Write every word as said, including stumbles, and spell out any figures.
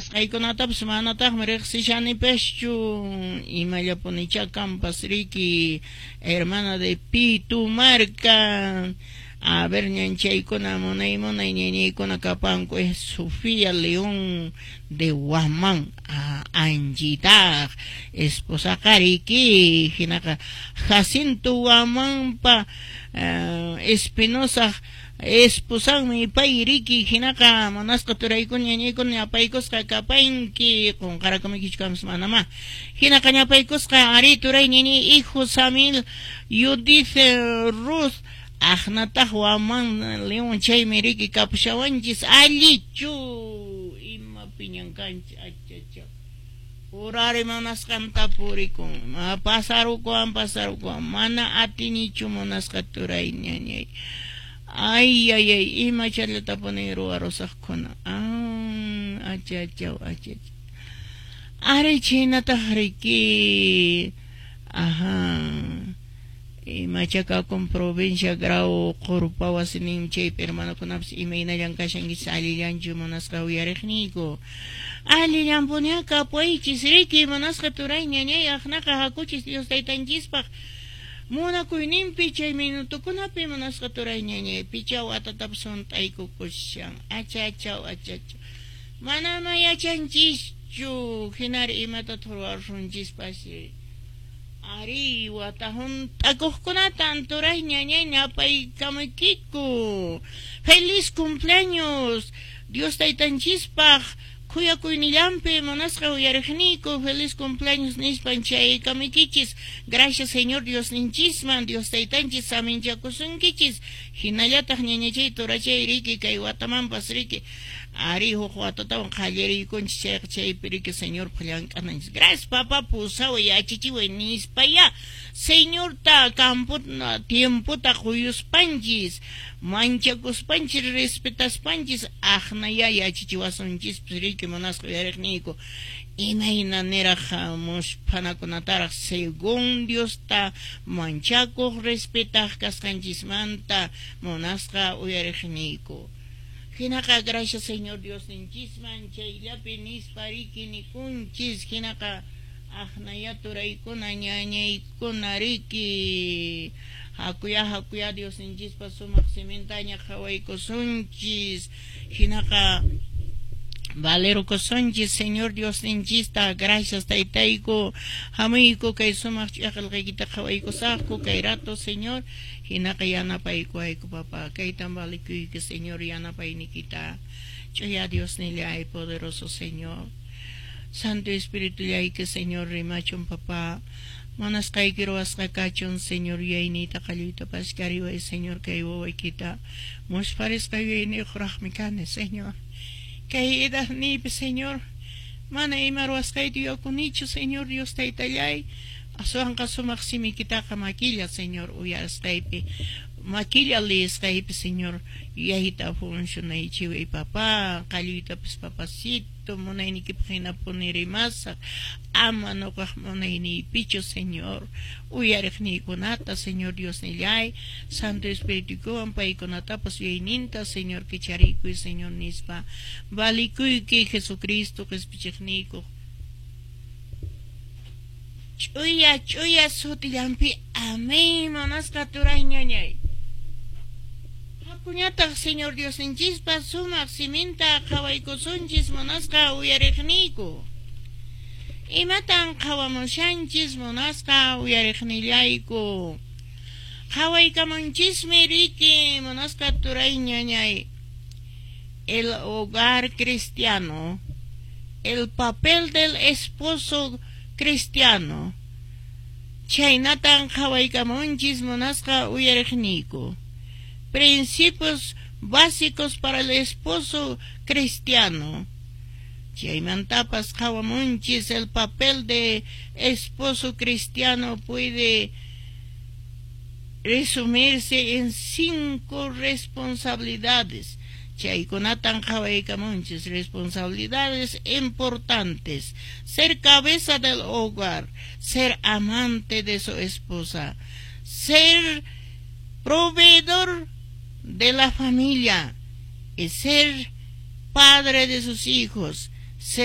Qillqasqaykunatapas manataqmi riqsishanipaschu. Imallapunichá kanpas riki, hermana de Pitumarca. A ver, ñanchaykuna, munay munay ñañaykuna kapanku. Es Sofía León de Guamán, Anchitaq esposaqa riki. Hinaqa Jacinto Guamanpa uh, Espinosa esposanmi pay riki. Hinaqa munasqa turaykuna, ñañaykuna, ñapaykusqa kapanki. Qunqarakumikichu kamas manama. Hinaqa ñapaykusqa ari turay, ñañay, hijo Samil, Judith, Ruth aqnataq Guamán León, chaymi riki kapushawanchis. Allichu, ima piñan kanchis? Achacha, urari munasqanta purikun, pasarukuwan, pasarukuwan, mana atinichu, munasqa turay, ñañay. Ay, ay, ay, ima challatapuni ruwarusaqkuna. Ah, achachaw, achachaw. Ari chhaynataq riki. Ajá, imachakakun provincia Grau Qurpa wasinin chaypi hermanokunapas, imaynallan kashankichis? Allillanchu, munasqa uyariqniyku? Allillanpuni kapuychis riki, munasqa turay, ñañay. Aqnaqa hakuchis Dios taytanchispaq munakuyninpi chay minutukunapi, munasqa turay, ñañay. Picha watatapas hunt'aykukushan. Achachaw, achachaw, manama yachanchischu hinari imatataq ruwarunchispas. Ari wata hunt'akuqkunatan, turay, ñañay, ñapaykamaykiku. Feliz cumpleaños Dios taytanchispaq khuyakuynillanpi, munasqa uyariqniyku. Feliz cumpleaños nispan chaykamuykichis. Gracias Señor Diosninchisman, Dios taytanchis saminchakusunkichis. Hinallataq ñañachay, turachay riki, kay watamanpas riki. Ari huk watatawan qallariykunchis chayqa, chaypi riki Señorpaq llank'ananchis. Gracias papá, pusaway, yachachiway nispaya Señorta campo tiempota quyuspanchis, manchakuspanchis, respetaspanchis, aqnaya yachachiwasunchispas riki, munasqa uyariqniyku, imayna niraq musphanakunataraq según Diosta manchakuq, respetaq kasqanchismanta, munasqa uyariqniyku. Hinaqa gracias Señor Diosninchisman chayllapi nispa riki nikunchis. Hinaqa aqnaya turaykuna, ñañaykuna riki, hakuya, hakuya Diosninchispa sumaq simintaña qhawaykusunchis. Hinaqa valerukusunchis Señor Diosninchista. Gracias taytayku, hamuyku kay sumaq ch'aqilqaykita qhawaykusaqku kay rato, Señor. Hinaqa yanapaykuwayku, papá. Kaytan valikuyki, Señor, yanapaynikita, ch'uya Diosnillay, poderoso Señor. Santo Espíritu llayki, Señor, rimachun, papá. Munasqayki ruwasqa kachun, Señor. Yuyayniyta qalluyta pashkariway, Señor, kay wawaykita muspharisqa yuyayniyuqraqmi kani, Señor. Kay edadniypi, Señor, mana ima ruwasqayta yuyakunichu, Señor Dios taytallay. Aswanqa sumaq simikitaqa makilla, Señor, uyarisqaypi, makilla liyisqaypi, Señor, yuyayta funcionaychiway, papá. Qalluytapas, papacito, munaynikipaq hinapuni rimasaq, ama nuqaq munayniypichu, Señor. Uyariqniykunata, Señor Diosnillay, Santo Espirituwan paykunatapas yuyayninta, Señor, kicharikuy, Señor, nispa valikuyki Jesucristo qispichiqniykuq ch'uya ch'uya sutillanpi. Amén. Munasqa turay, ñañay, hakuñataq Señor Diosninchispa sumaq siminta qhawaykusunchis, munasqa uyariqniyku. Imatan qhawamushanchis, munasqa uyariqnillayku? Qhawaykamunchismi riki, munasqa turay, ñañay, el hogar cristiano, el papel del esposo cristiano. Chhaynatan qhawaykamunchis, munasqa uyariqniyku. Principios básicos para el esposo cristiano. Chaymantapas qhawamunchis el papel de esposo cristiano puede resumirse en cinco responsabilidades. Chaykunatan qhawaykamunchis, responsabilidades importantes: ser cabeza del hogar, ser amante de su esposa, ser proveedor de la familia y ser padre de sus hijos, ser